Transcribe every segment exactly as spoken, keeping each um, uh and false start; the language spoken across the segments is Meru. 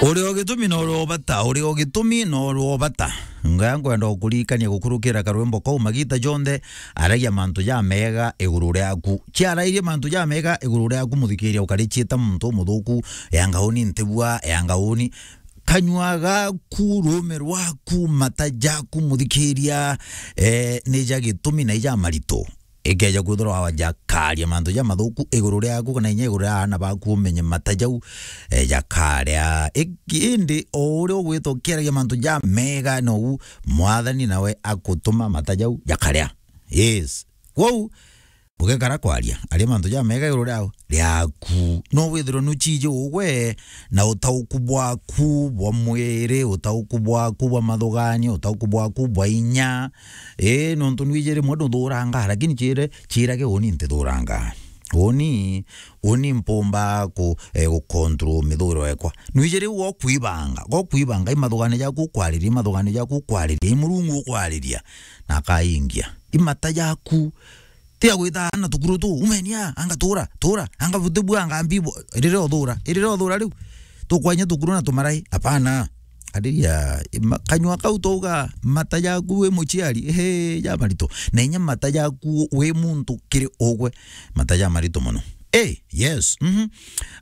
Uri o gitumi na uri o bata, uri o gitumi na uri o bata. Ngaya nkwenda gukuririkania gukurukira karwimbo kau, magita jonthe aragia mantu jamega iguru riaku. Ciarairie mantu jamega iguru riaku, muthikiria, ukarichiita muntu umuthuku, yanga uni ntibua, yanga uni. Kanyua gaku, ruume rwaku, mata jaku, muthikiria, eh, ni ja gitumi na ija marito. Ikeja kwithirwa jakaria mantu jamathuku iguru riaku kana inya iguru ria aana baku, umenye mata jau, eh, jakaria. Iki-, indi o uria ugwita ukiaragia mantu jamega, nou Mwathani nawe akutuma mata jau jakaria. Yes. Kwou, bugekara kwaria, aria mantu jamega iguru riao, riaku. No withirwe nuchiji ugwe na utauku bwaku bwa mwiri, utauku bwaku bwa mathuganio, utauku bwaku bwa inya. Ii, nontu nwiji rimwe nduthurangaa, lakini chire, chirage uni ntithurangaa. Uni, uni mpumba ku, eh, gucontrol mithuro ekwa. Nwiji riu gokwibanga, gokwibanga, i mathuganio jaku ukwariria, i mathuganio jaku ukwariria, i Murungu ukwariria, na akaingia. I mata jaku, tiga gwita na tukuru tu, umenia, anga tura, tura, anga butibua, anga mbibo, irire uthura, irire uthura riu. Tukwanya tukuru na tumarai, apana. Ariria, ma-, kanyua kau twauga mata jaku wi muciari, ehe, ja marito. Na inya mata jaku wi muntu kiri ugwe, mata ja marito mono. Eh, yes, mhm.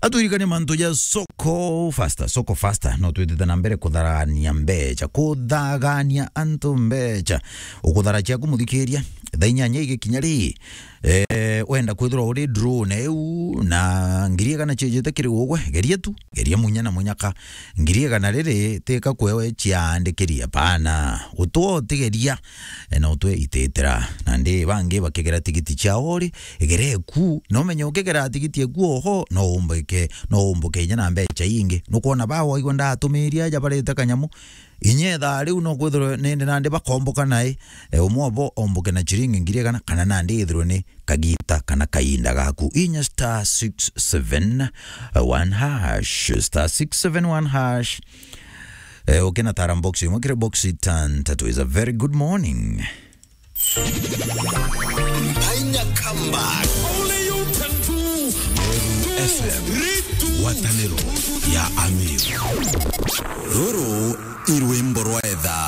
Atwirikanie mantu ja Soko Faster, Soko Faster. No twitite na mbere kutharania mbecha, kuthagania antu mbecha. Ukuthara ciaku muthikiria, thaa inyanya igikinya ri, eh, wenda kwithirwa uri draw na iu, na ngiri igana ciejete kiri ugwe, geria tu, geria munya na munyaka. Ngiri igana riri, tika kwewe ciandikiri, apana. Utwo utigeria, eh, na utwe ititira. Nandi bangi bakigera tigiti ciao ri, igere eku, na umenye ukigera tigiti eku oho, no umbike, no umbuke inya na mbecha ingi. Nukwona ba waigua ndatumiria aja barite kanyamu, inya ithaa riu no kwithirwe nindi nandi bakomboka nai, e, umwe obo omboke na chiringi ngiri igana, kana nandi ithirwe ni kagita kana kainda gaku. Inya star six seven one hash, star six seven one hash. E, ukina tara box imwe kiri box itantatu. Is a very good morning. Ainya comeback. Only you can do. F M. Ngwataniro ya Amir. Ruru i rwimbo rwa etha.